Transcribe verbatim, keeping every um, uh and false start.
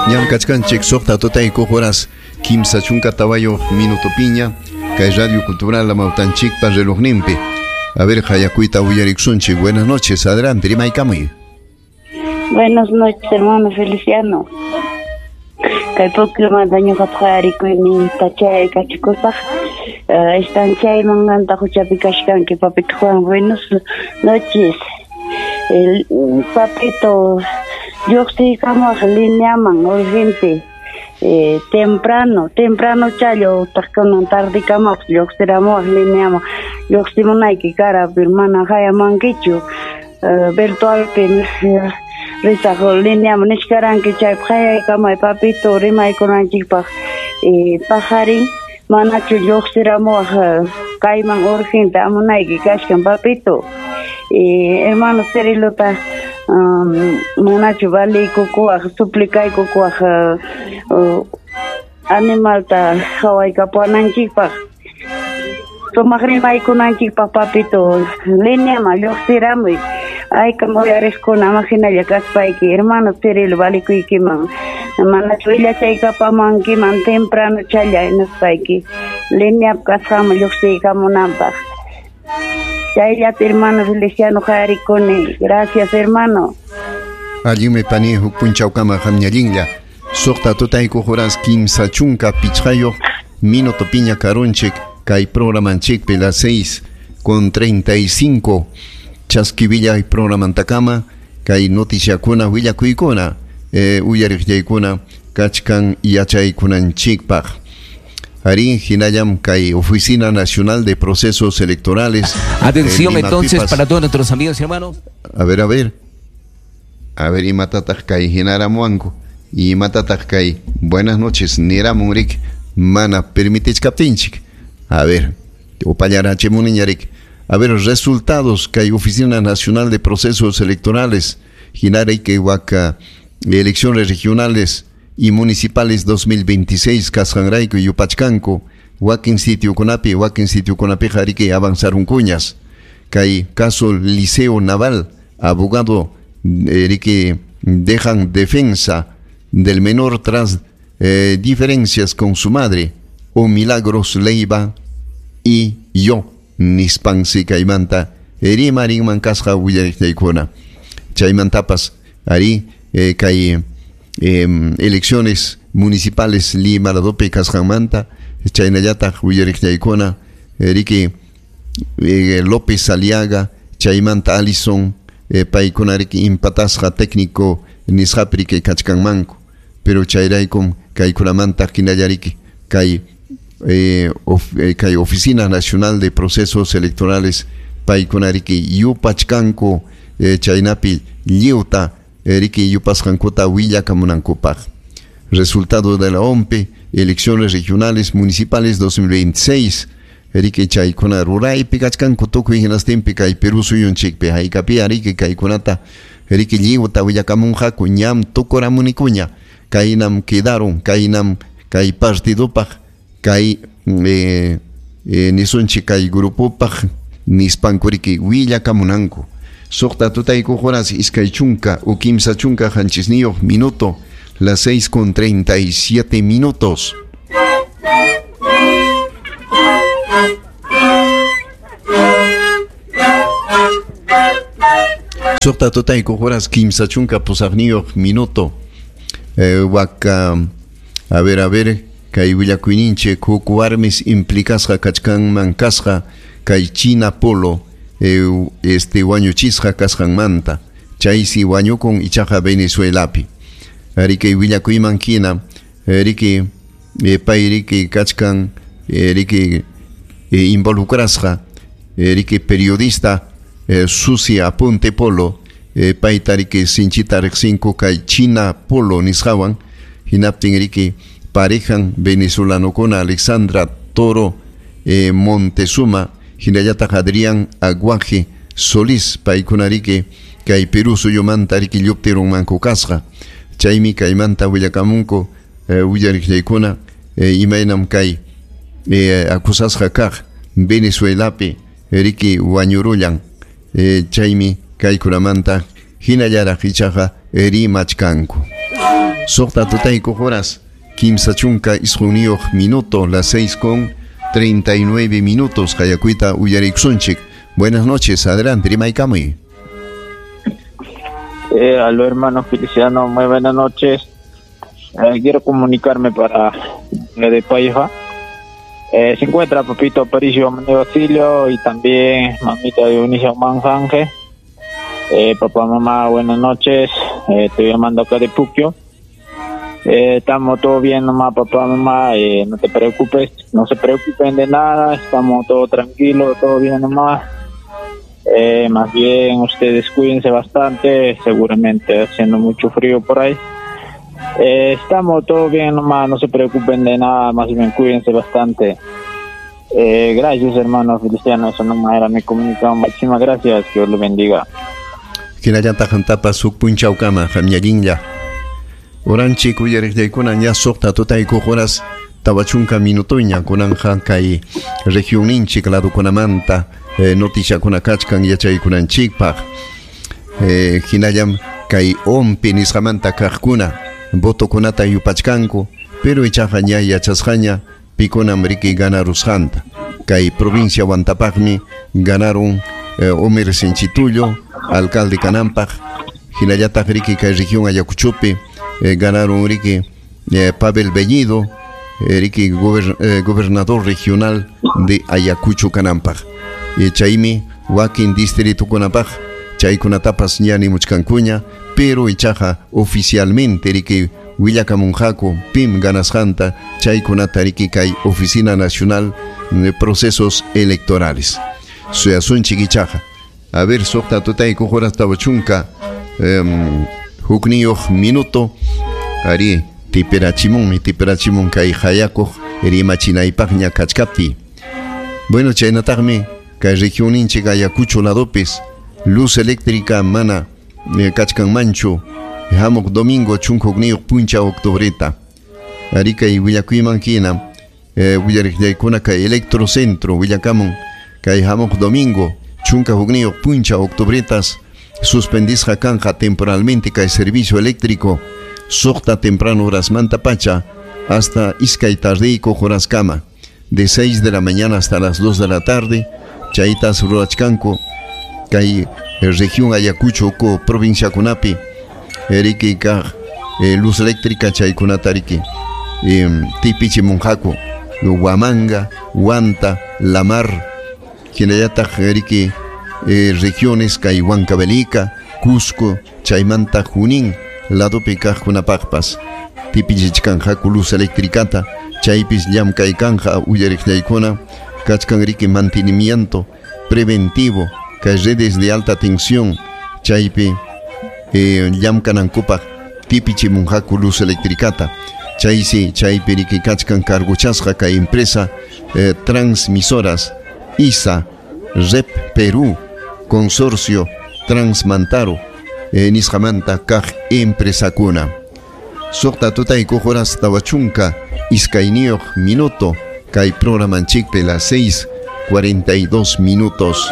Ñam kachkanchik suqta tutaykuq horas kimsa chunka tawayuq minuto piña kay Radio Cultural Amautanchikpa relojninpi. A ver, hayakuyta uyariksunchik. Buenas noches, adelante, rimaykamuy. Buenas noches, hermano Feliciano. Kay pukyumanta ñuqapaq harikuyninta chay kachikusaq. Están chay manganta huchapi kachkanki, papito Juan. Buenas noches. El papito, lluqsiykamuq lineaman urgente. Eh, temprano, temprano chayo, utaq tardikamuq lluqsiramuq lineaman. Lluqsimunayki kara, pero mana hayamankichu. Uh, virtualpi risaq lineaman nichkaranki chaypaq hayaykamay papito rimaykunanchikpaq. Eh, pajarin manachu lluqsiramuwaq kayman urgente amunayki kachkan papito. Eh, hermano Cirilota um, manachu valiykukuwaq suplicaykukuwaq uh, uh, animalta hawaykapuwananchikpaq sumaq rimaykunanchikpaq papito lineaman lluqsiramuy. Aykam uyariqkuna ama hinalla kaspayki hermano Cirilo valikuykiman manachu willachaykapamankiman temprano challa nispayki lineap kasqanman lluqsiykamunanpaq. Chayllata hermano Feliciano harikuni. Gracias, hermano. Allinmi pani huk punchawkama qamñallinlla. Suqta tutaykuq horas kimsa chunka pichqayuq minuto piña karunchik kay programanchikpi las seis con treinta y cinco chaskivilla programantakama kay noticiakuna willakuykuna eh, uyariqllaykuna kachkan yachaykunanchikpaq. Arí, hinallam kay Oficina Nacional de Procesos Electorales. Atención eh, entonces para todos nuestros amigos y hermanos. A ver, a ver. A ver, imatataq kay hinaramuanku. Imatataq kay. Buenas noches, niramunrik mana permitichkaptinchik. A ver, upallarachimuniñarik. A ver, resultados kay Oficina Nacional de Procesos Electorales. Hinarayke waka elecciones regionales y municipales dos mil veintiséis kasqanrayku yupachkanku wakin sitiukunapi wakin sitiukunapiqa hariki avanzaron cuñas kay caso Liceo Naval abogado eh, dejan defensa del menor tras eh, diferencias con su madre o Milagros Leiva y yo nispansi kaymanta rimarinman kasqa willariqllaykuna chaymantapas ari eh, kay Eh, elecciones municipales Lima ladopi kasqanmanta chaynallataq willariqllaykuna riki eh, López Aliaga chaymanta Alison eh, paykuna riki impatasqa técnico nisqapi riki kachkanmanku pero chayraykum kaykunamanta hinallariki kay eh, of, eh, kay Oficina Nacional de Procesos Electorales paykuna riki yupachkanku eh, chaynapi lliwta riki yupasqankuta willakamunankupaq. Resultado de la O M P, elecciones regionales municipales dos mil veintiséis. Riki chaykuna ruraypi kachkanku tukuy hinastinpi kay Perú suyunchikpi haykapi riki kaykunata riki lliwta willakamunqaku ñam tukuramunikuña kaynam quedaron kaynam kay partidopaq kay eh, eh, nisunchik kay grupopaq nispanku riki willakamunanku. Suqta tutaykuq horas iskay chunka u kimsa chunka qanchisniyuq minuto, las seis con treinta y siete minutos. Suqta tutaykuq horas kimsa chunka pusaqniyuq minuto. Eh, waka, a ver, a ver, kay willakuyninchik huk warmis implicasqa kachkanman kasqa kay China Polo Eh, este wañuchisqa kasqanmanta chaysi wañukun ichaqa Venezuelapi riki willakuyman hina riki eh, pay riki kachkan eh, riki eh, involucrasqa eh, riki periodista eh, Susi Aponte Polo eh, payta riki sinchita riqsinku kay China Polo nisqawan hinaptin riki parejan venezolanokuna Alexandra Toro eh, Montezuma hinallataq Adrián Aguaje Solís paykuna riki kay Perú suyumanta riki lluptirunmanku kasqa chaymi kaymanta willakamunku eh, willariqllaykuna eh, imaynam kay eh, acusasqa kaq Venezuelapi riki wañurullan eh, chaymi kaykunamanta hinallaraq ichaqa rimachkanku. Suqta tutaykuq horas kimsa chunka isqunniyuq minuto, las seis con treinta y nueve minutos. Qayakuyta uyarikusunchik. Buenas noches, adelante, rimaykamuy. Eh, aló, hermano Feliciano, muy buenas noches. Eh, quiero comunicarme para la de Paiva. Eh, se encuentra Papito Aparicio Manuel Basilio y también mamita Dionisio Manjanje. Eh, papá, mamá, buenas noches. Eh, estoy llamando acá de Puquio. Eh, estamos todo bien nomás, papá, mamá. Eh, no te preocupes, no se preocupen de nada. Estamos todo tranquilos, todo bien nomás. Eh, más bien ustedes cuídense bastante, seguramente haciendo mucho frío por ahí. Eh, estamos todo bien nomás, no se preocupen de nada, más bien cuídense bastante. Eh, gracias, hermano Feliciano, eso nomás era mi comunicación. Muchísimas gracias, que Dios lo bendiga. Hinallataq tapas huk punchawkama qamñallinlla. Uranchik uyariqllaykuna ña suqta tutaykuq horas tawa chunka minutoña kunanja kay regionninchik ladukunamanta eh, noticiakuna kachkan yachaykunanchikpaq. Eh, hinallam kay ompi nisqamanta kaqkuna votokunata yupachkanku, pero ichaqa ña yachasqaña pikunam riki ganarusqanta. Kay provincia Huantapaqmi ganaron eh, Homer Senchitullo, alcalde kananpaq. Hinallataq riki kay región Ayacuchopi eh, ganaron riki eh, Pavel Bellido, eh, riki gober, eh, gobernador regional de Ayacucho kananpaq. Eh, chaymi wakin distritukunapaq chaykunatapas ña nimuchkankuña, pero ichaqa oficialmente riki willakamunqaku pim ganasqanta chaykunata riki kay Oficina Nacional de Procesos Electorales. Suyasunchik ichaqa. A ver, suqta tutaykuq horas tawa chunka um, hukniyuq minuto. Ari tiperachimunmi, tiperachimun kay hayakuq rimachinaypaqña kachkapti. Bueno, chaynataqmi kay regionninchik Ayacucho ladopis luz eléctrica mana eh, kachkanmanchu hamuq domingo chunka hukniyuq punchaw octubreta. Ari kay willakuyman hina eh, willariqllaykuna kay Electrocentro willakamun kay hamuq domingo chunka hukniyuq punchaw octubretas suspendisqa kanja temporalmente kay servicio eléctrico suqta temprano horasmanta pacha hasta iskay tardiykuq horaskama, de seis de la mañana hasta las dos de la tarde. Chaytas rurachkanku kay región Ayacucho ko provincia kunapi riki kaq eh, luz eléctrica chaykunata riki eh, tipichimunqaku Huamanga, Huanta, La Mar, hinallataq riki eh, regiones kay Huancavelica, Cusco, chaymanta Junín ladopi kaqkunapaqpas tipichichkanqaku luz eléctricata. Chaypis llamk'aykanja uyariqllaykuna kachkan riki mantenimiento preventivo kay redes de alta tensión chaypi eh, llamk'anankupaq tipichimunqaku luz eléctricata. Chaysi chaypi riki kachkan carguchasqa kay empresa eh, transmisoras I S A, Rep Perú, Consorcio Transmantaro eh, nisqamanta kaq empresakuna. Suqta tutaykuq horas tawa chunka iskayniyuq minuto kay programanchikpi las seis cuarenta y dos minutos.